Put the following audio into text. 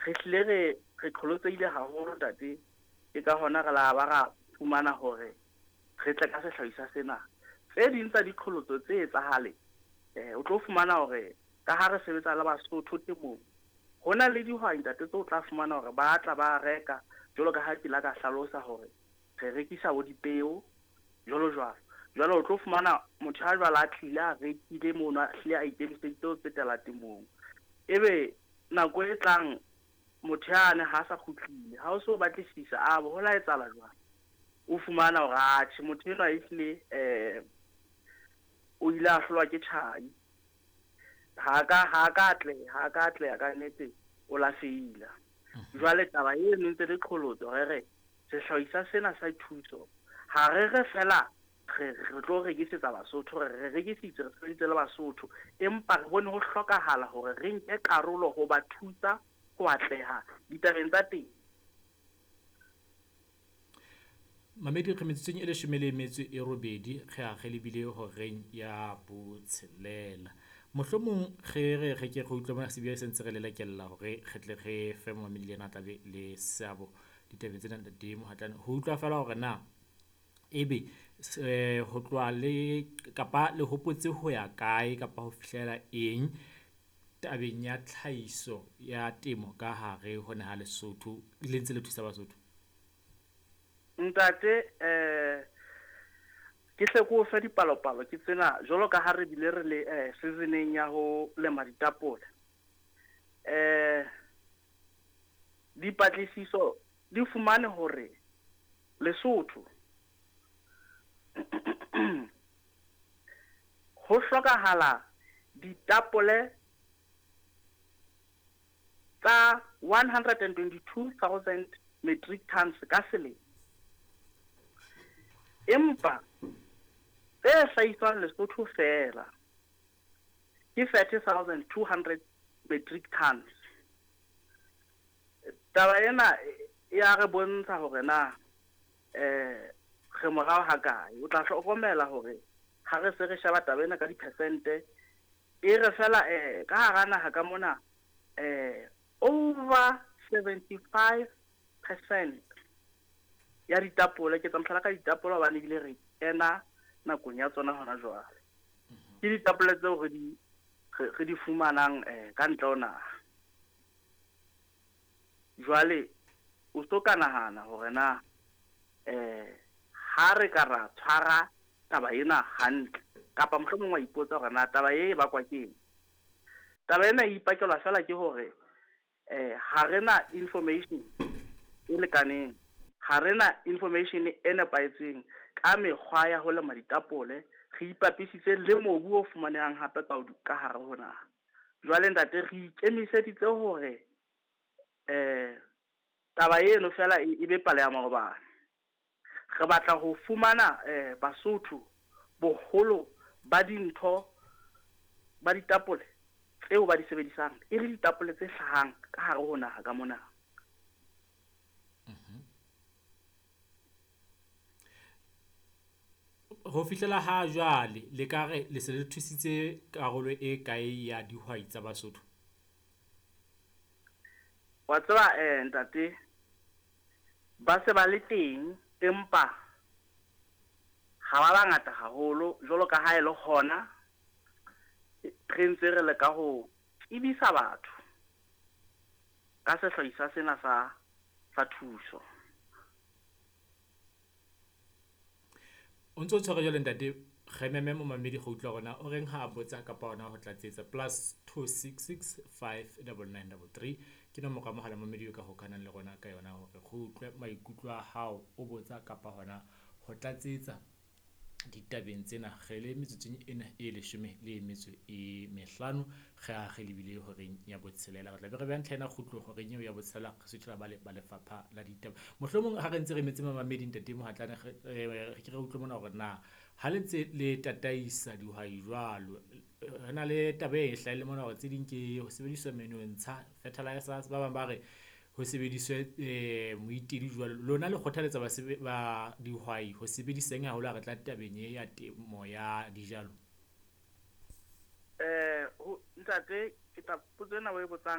Re hlile re qholotsehile haholo ntate, ke ka hona re la ba ra fumana hore re tle ka sehlahiswa sena. Tse ding tsa diqholotso tse etsahale, o tlo fumana hore ka ha re sebetsa le Basotho temong, ho na le dihwai ntate tseo o tla fumana hore ba tla ba reka, jwalo ka ha ke la ka hlalosa hore re rekisa bo dipeo jwalo jwalo. Jwale o tlo fumana motho a jwalo a tlile a rekile mono, a hlile a ikemiseditse ho tsetela temong. Ebe nako e tlang motho yane ha sa kgutlile, ha o so batlisisa a bo ho la etsahala jwang, o fumana hore atjhe motho enwa ehlile o ile a hlolwa ke tjhai, ha ka atleha ka nnete, o la feila. Jwale taba eno ntse le qholotso, re re sehlahiswa sena sa thuso ha re re fela re tlo rekisetsa Basotho, re rekisitse, re sebeditse le Basotho, empa re bone ho hlokahala hore re nke karolo ho ba thusa ho atleha ditabeng tsa teng. Mamedi re metsotsong e 18 re a re lebile horeng ya 6. Mohlomong re re ke re utlwe mona sebia se ntse re lelekella hore re tle re fe mamedi le yena a tlabe le seabo ditabeng tsena ntate Mohatlane, ho utlwa fela hore na ebe ho tloha le kapa le hopotse ho ya kae kapa ho fihlela eng tabeng ya tlhahiso ya temo ka hare ho naha Lesotho, le ntse le thusa Basotho? Ntate, ke hle ke o fe dipalopalo ke tsena, jwalo ka ha re bile re le seasoneng ya ho lema ditapole. Dipatlisiso di fumane hore Lesotho ho hlokahala ditapole tsa 122,000 metric tons ka selemo. Empa tse hlahiswang Lesotho fela ke 30,200 metric tons. Taba ena ya re bontsha hore na re morao ha kae. O tla hlokomela hore ha re se re sheba taba ena ka dipersente, e re fela ka hara naha ka mona over 75% ya ditapole, ke tsa mohlala ka ditapole hobane ebile re kena nakong ya tsona hona jwale. Ke ditapole tseo re di fumanang ka ntle ho naha. Jwale o so ka nahana hore na ha re ka ra tshwara taba ena hantle, kapa mohlomong wa ipotsa hore na taba e bakwa ke eng. Taba ena e ipakelwa fela ke hore ha re na information e lekaneng, ha re na information e nepahetseng ka mekgwa ya ho lema ditapole, re ipapisitse le mobu o fumanehang hape ka hare ho naha. Jwale ntate re ikemiseditse hore taba eno fela e be pale ya maobane. Re batla ho fumana Basotho boholo ba dintho ba ditapole tseo ba di sebedisang e le ditapole tse hlahang ka hare ho naha ka mona. Ho fihlela ha jwale le ka re le se le thusitse karolo e kae ya dihwai tsa Basotho? Wa tseba ntate, ba se ba le teng empa ha ba bangata haholo, jwalo ka ha e le hona re ntse re leka ho tsebisa batho ka sehlahiswa sena sa thuso. O ntso tshware jwale ntate, re meme momamedi go utlwa rona o reng ha a botsa kapa hona ho tlatsetsa +266 599 33 ke nomoro ya mohala momamedi o ka hokahanang le rona ka yona hore re utlwe maikutlo a hao, o botsa kapa hona ho tlatsetsa ditabeng tsena. Re le metsotsong ena e 15 re a re lebile horeng ya 6. Re tla be re beha ntlha ena kgutlo horeng eo ya 6, re suthela ba lefapha la ditaba. Mohlomong ha re ntse re metse mamamedi ntate Mohatlane, re ke re utlwe mona hore na ha le ntse le tataisa dihwai jwalo, re na le taba e hlahile mona hore tse ding ke ho sebediswa menontsha, fertilizers, ba bang ba re ho sebediswe moitedi jwalo. Lona le kgothaletsa ba dihwai ho sebediseng haholo ha re tla tabeng e ya temo ya dijalo? Ntate, ke tla potso ena o e botsang